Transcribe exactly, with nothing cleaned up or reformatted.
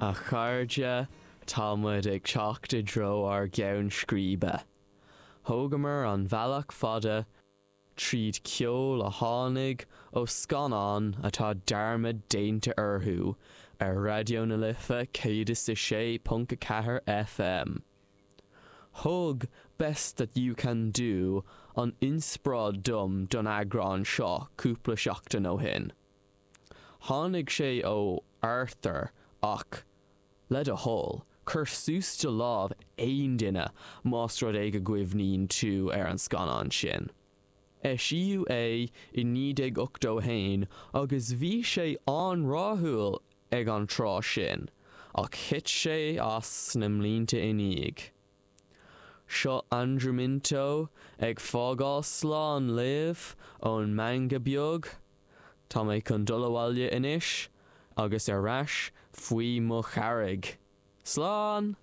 A chairde tá muid ag teacht i dtreo ár gceann scríbe. Thógamar an bealach fada tríd ceol a tháinig ó scannáin atá dearmad déanta orthu ar Raidió na Life céad is a sé ponc a ceathair FM. Thug Best That You Can Do an inspioráid dom don eagrán seo cúpla seachtain ó shin. Tháinig sé ó Arthur ach le do thoil, cuir suas do lámh aon duine más rud é go gcuimhníonn tú ar an scannán sin. Eisíodh é i naoi déag ochtó haon agus bhí sé an-rathúil ag an tráth sin, ach thit sé as sna blianta ina dhiaidh. Seo Andrew Minto ag fágáil slán libh ón meangadh beag, Tá mé chun dul abhaile anois agus ar ais faoi mo charraig. Slán!